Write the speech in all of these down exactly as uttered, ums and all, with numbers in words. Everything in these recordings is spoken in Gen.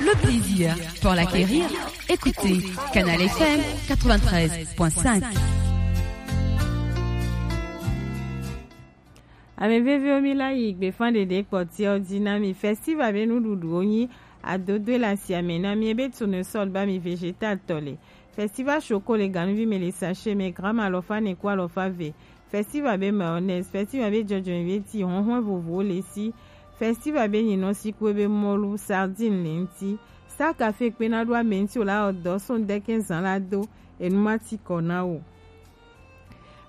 Le plaisir pour l'acquérir, écoutez Canal F M quatre-vingt-treize point cinq. Ame veviwo, mi la yi gbefa ɖeɖe kpɔtiawo ji na mi. Festival be nuɖuɖuwo nyi adodoe le asiame na mi, ebe tournesol ba mi, vegetal tɔ le. Festival choco le ganuvi me le sachet me, gramme alɔfa ene ku alɔfa eve. Festival be mayonnaise, festival be jɔjɔnyi be ti, hɔnhɔn vovovowo le si. Festival be nyinɔsi ku ebe mɔlu, sardine le ŋti. Star Café kpena ɖo ame ŋti o la ɔ dɔ so ŋdɛkɛ zan la do, enu ma ti kɔ na o.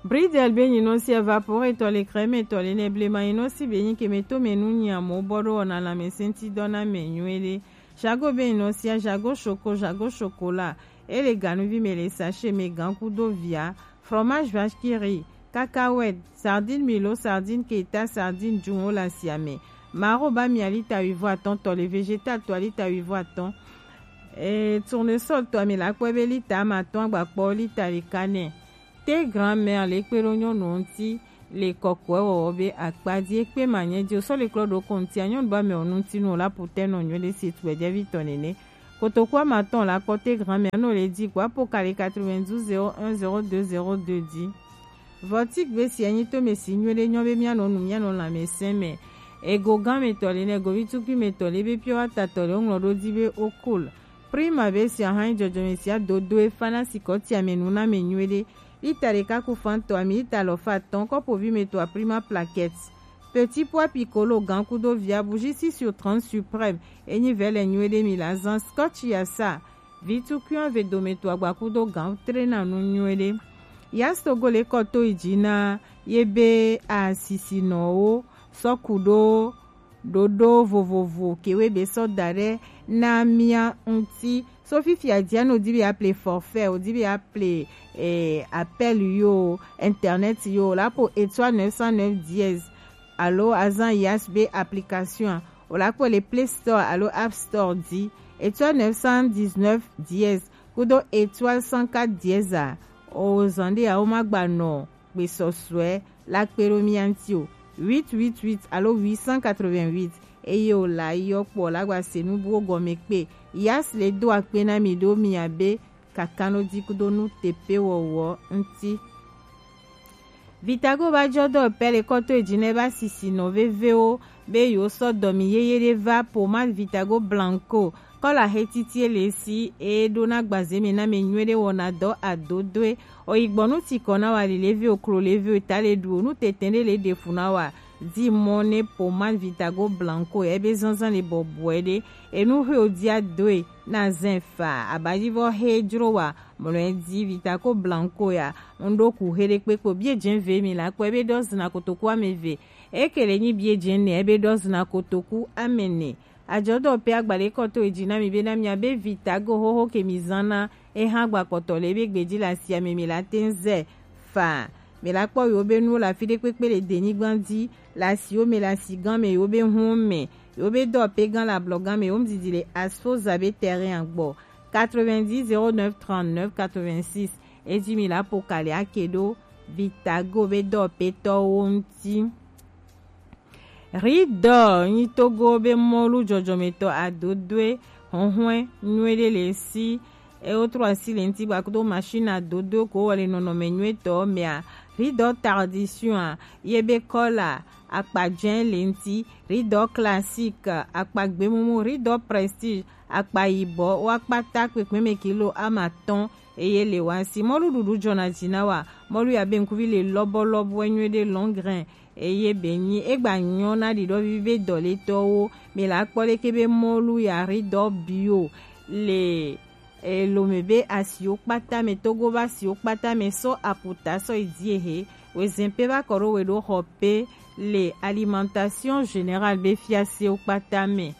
Bridel be nyinɔsi evapore tɔ le, crème tɔ le, ne blema nyinɔsi be nyi ke me to me nu nyi amo bɔ ɖo wɔna lãmesẽŋtidɔ na mɛ nyuie ɖe. Jago be nyinɔsia, jago choco, jago chocolat. E le ganuvi me le sachet me, gan kudo via. Fromage vache qui rit, cacahuète, sardine milo, sardine keta, sardine junwo le asiame. Maro ba mia lita wuivo atɔn tɔ le, vegetal tɔ lita wuivo atɔn. E, tournesol tɔ mi la kpɔ be lita amatɔn, agbakpɔ lita ɖeka nɛ. Te grand-mère le kpe ɖo nyɔnuwo ŋti le kɔkɔɛ wɔwɔ be akpa ji, ekpe ma nyɛ ji o sɔ le klɔ ɖo ko ŋtia, nyɔnu ba mɛ o nu ŋti nu o la putɛ nɔ nyuie ɖe si tu gbɛjɛvi tɔ nene. Kotoku amatɔn la kpɔ te grand-mère nɔ le ji kpo apo kali quatre-vingt-douze zéro un zéro deux zéro deux ji. Vɔtik be si anyi to me si nyuie ɖe nyɔ be mia nɔ nu, mia nɔ lãmesẽ me. Ego gan me tɔ le, ne govi tukui me tɔ le, be pure water tɔ le, o ŋlɔ ɖo ji be o cool. Prima be si ahan jɔjɔme si adodo e fana si kɔ tia me nu na me nyuie ɖe. Lita ɖeka ku fan tɔ ami lita alɔfa atɔn, kɔpovi me tɔ a Prima plaquette. Petit pois piccolo gan kudo via, bougie six sur trente suprême. Enyi vɛ le nyuie ɖe mi la zan, scotch ya sa. Vitu kuian ve dome to agba kudo gan trena nu nyuie ɖe. Yastogo le kɔ to yi ji na ye be asisinɔwo sɔ ku ɖo ɖoɖo vovovo kewe be sɔ da ɖe na mia ŋti. So fifia dia no di be aple forfait, o di be aple eh, appel yo, internet yo, la po étoile neuf cent neuf dièse alo azan yas be application, o la kpɔ le Play Store alo App Store di, étoile neuf cent dix-neuf dièse kudo étoile cent quatre dièse a, o zan ɖe a o ma gba nɔ gbesɔsɔɛ la kpe ɖo mia ŋti o, huit huit huit alo huit cent quatre-vingt-huit, eye o la yɔ kpɔ la gba se nu buwo gɔme kpe. Yas le do akpe na mi ɖo mia be kakano di kudo nu tepe wɔwɔ ŋti. Vitago ba jɔ dɔ pɛ le kɔto eji ne ba sisi nɔ vevewo be yo sɔ dɔmi yeye ɖe va pomade Vitago Blanco kɔla he titi ele si e ɖo na gbaze me na me nyuie ɖe wɔna dɔ adodoe. Oyi gbɔ nu ti kɔ na wa li leve oklo leve o ta le ɖu o nu tete ɖe le ɖe fu na wa di mɔ ne pomade Vitago Blanco ebe zanzan le bɔbɔe ɖe enu he o dia doe na zɛn fa abajivɔ he jro wa mlɔe di Vitago Blanco ya. Ŋɖo ku he ɖe kpekpe bie jɛn ve mi la kpɔ ebe dɔ zina kotoku ame ve eke le nyi bie jɛn ne ebe dɔ zina kotoku ame ne. Ajɔdɔ pe agba ɖe kɔ to eji na mi be na mia be Vitago xoxo ke mi zan na eha gba kpɔtɔ le ebe gbeji le asia me mi la te ŋ zɛ fa. Mi la kpɔ yewo be nuwo le afi ɖe kpekpe le denyigba di le asiwo me le asigan me yewo be hun me yewo be dɔ pe gan le ablɔgan me yewo ŋdidi le asfoza be terrain gbɔ. Quatre-vingt-dix zéro neuf trente-neuf quatre-vingt-six. Eji mi la po kali ake ɖo Vitago be dɔpetɔwo ŋti. Ridɔ nyi Togo be mɔlu jɔjɔmetɔ adodoe hɔnhɔn nyuie ɖe le si. E wotro asi le ŋti gba kudo machine adodoe ko wɔ le nɔnɔme nyuie tɔ mea. Ridɔ tradition a ye be kɔla akpa jɛn le ŋti. Ridɔ classique akpa gbemumu. Ridɔ prestige akpa yibɔ, wa kpata kpekpe me kilo ama tɔn. Eye le wa si mɔlu ɖuɖu jɔna ji na wa. Mɔlu ya be ŋkuvi le lɔbɔ lɔbɔ nyuie ɖe long grain. Eye be nyi egba nyɔ na ɖiɖɔ vivi be dɔletɔwo. Mi la kpɔ leke be mɔlu ya ridɔ bio le e, lome be asiwo kpata me, Togo be asiwo kpata me sɔ aputa sɔ yi die he. Wezɛn pe ba kɔ ɖo we ɖo xɔ pe le alimentation générale be fiasewo kpata me.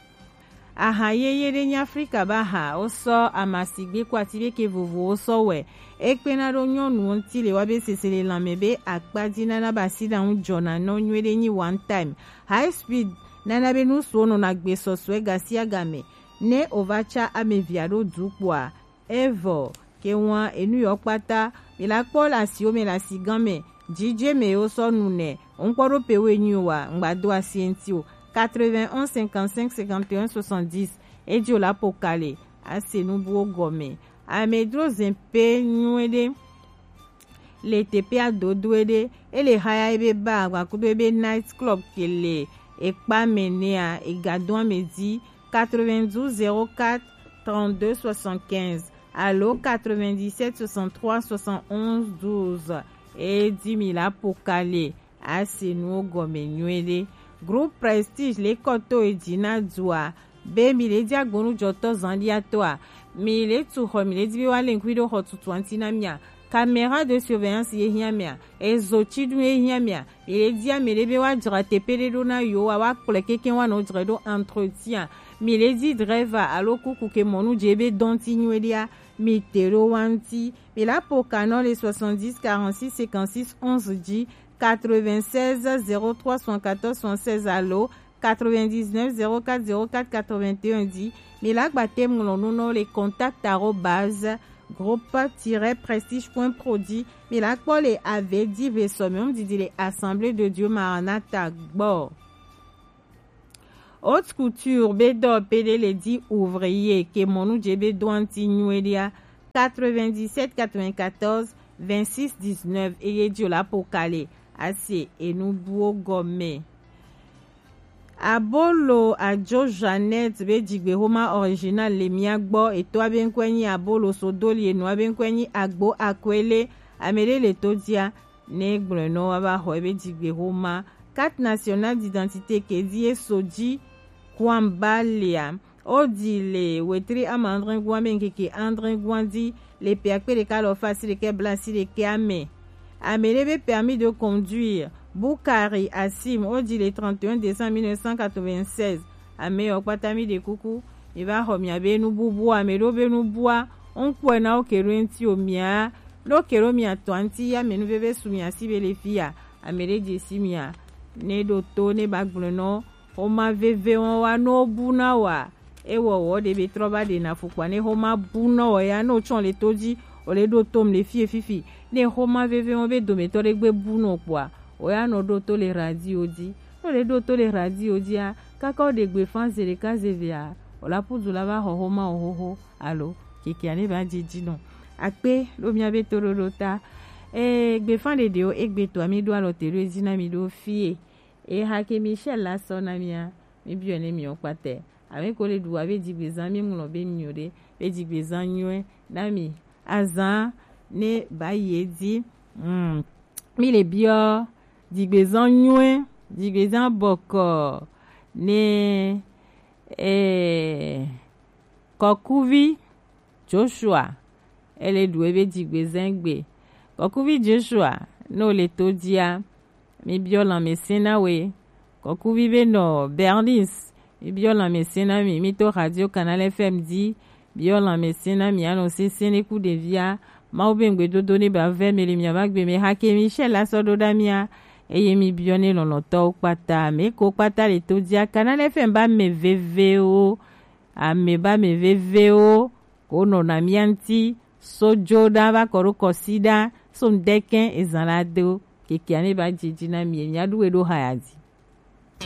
Aha yeye ɖe nyi Afrika ba ha, wo sɔ amasigbe ko ati be ke vovowo sɔ wɛ. Ekpena ɖo nyɔnuwo ŋti le wa be sese le lanme be akpa di nana ba si ɖa ŋu jɔna nɔ nyuie ɖe nyi one time. High speed nana be nusuwo nɔna gbe sɔsɔe gasiagame. Ne o va tsa ame via ɖo du kpoa, evɔ ke wan enu yɔ kpata. Mi la kpɔ le asiwo me le asigan me. Jije me yewo sɔ nu nɛ. Ŋkpɔ ɖo pe wo enyi o wa, ŋgba do asi eŋti o. quatre-vingt-onze cinquante-cinq cinquante et un soixante-dix. Ejo la pokale, ase nubuwo gɔme. Amedro zempe nyuede. Le teƒea dodoe ɖe, ele haya ebe bar gbakudo ebe night club ke le ekpa me nɛa, egadɔa me di quatre-vingt-douze zéro quatre trente-deux soixante-quinze alo quatre-vingt-dix-sept soixante-trois soixante-onze douze. Edi mi la pokale, ase nuwo gɔme nyuie ɖe. Groupe Prestige le kɔto eji na dua be mi le di agbonu jɔtɔ zan dia toa, mi le tu xɔ, mi le di be wa le ŋkui ɖo xɔ tutua ŋuti na mia. Caméra de surveillance ye hiã mia, ezo ci ɖu ye hiã mia, mi le di ame ɖe be wa dzra teƒe ɖe ɖo na yo wa, wa kplɔe keke wa nɔ dzra ɖo entretien. Mi le di driver alo kuku ke mɔnu dze be dɔnti nyuie ɖea, mi te ɖo wa ŋuti. Mi la po kanɔ le soixante-dix quarante-six cinquante-six onze dzi, quatre-vingt-seize zéro trois soixante-quatorze soixante-seize alo quatre-vingt-dix-neuf zéro quatre zéro quatre quatre-vingt-un dzi. Mi la gba te ŋlɔ nu nɔ le contact arobase groupe tiret prestige point pro dzi. Mi la kpɔ le ave di ve sɔ mi didi le Assemblée de Dieu Maranatha gbɔ. Haute Couture be dɔ pe ɖe le di ouvrier ke mɔnu dze be dɔnti nyuie ɖea, quatre-vingt-dix-sept quatre-vingt-quatorze vingt-six dix-neuf eye dzi o la pokale, ase enu buwo gɔme. Abolo Ajo Jeannette be dzigbexoma original le mia gbɔ. Etɔa be ŋkɔe nyi Abolo Sodoli, enɔa be ŋkɔe nyi Agbo Akwele. Ame ɖe le to dia ne gblɔe nɔ wa va xɔ ebe dzigbexoma. Carte nationale d'identité ke di eso dzi kuamba lea, o di le wetri ama andre gua me ŋkeke andre gua di le pe akpe ɖeka lɔ fa si ɖekɛ bla si ɖekɛ ame. Ame ɖe be permis de conduire Bukari Asim, o di le trente et un décembre mille neuf cent quatre-vingt-seize. Ame yɔ kpata mi ɖe kuku, mi va xɔ mia be nububu, ame ɖo be nubua, ŋkpɔe na wo ke ɖo ŋuti o mia, ɖo ke ɖo mia tɔ ŋuti ya me nuveve su mia si be le fi ya, ame ɖe dze si mia, ne ɖo to ne ba gblɔ nɔ xoma veve wɔn wa no bu na wa. Ewɔ wɔ ɖe be trɔ va ɖe na fukpa ne xoma bu nɔ wɔ ya, ne o tsɔ le to dzi, o le ɖo tom le fie fifi. Ne xoma veve wɔn be dometɔ ɖe gbe bu nɔ kpɔa, o ya nɔ ɖo to le radio dzi. Ne o le ɖo to le radio dzia, kaka o ɖe gbefa ze ɖeka ze vea, o la pudu la va xɔ xoma o xoxo alo kekea ne va dzi dzi nɔ. Akpe ɖo mia be toɖoɖo ta. Ee, gbefa ɖeɖewo egbe toa mi ɖo alɔ te ɖo edzi na mi ɖo fie. Eha ke Michel la sɔ na mia, mi biɔ ne mi o kpatɛ. Ame ko le ɖu wa be dzigbezã mi ŋlɔ be mi o ɖe, be dzigbezã nyuie na mi. Azã ne ba yi edzi. Mm. Mi le biɔ dzigbezã nyuie, dzigbezã bɔkɔ ne, eh, kɔkuvi Joshua, ele ɖu ebe dzigbezã gbe. Kɔkuvi Joshua, ne o le to dzia, mi biɔ lãmesẽ na we. Kɔkuvi be nɔ Bernice, mi biɔ lãmesẽ na mi. Mi to Radio Canal F M dzi, biɔ lãmesẽ na mi anɔ sesẽ ne ku ɖevia. Mawu be ŋgbedodo ne ba vɛ mi le mia va gbe me hake Michel la sɔ ɖo ɖa mia. Eye mi biɔ ne lɔlɔtɔwo kpata, me ko kpata le to dzia. Canal F M ba me vevewo, ame ba me vevewo, ko nɔna mia ŋuti, so dzo ɖa va kɔ ɖo kɔsi ɖa, so ŋdɛkɛ ezã la do, kekea ne ba dzi dzi na mi, mia ɖu we ɖo haya dzi.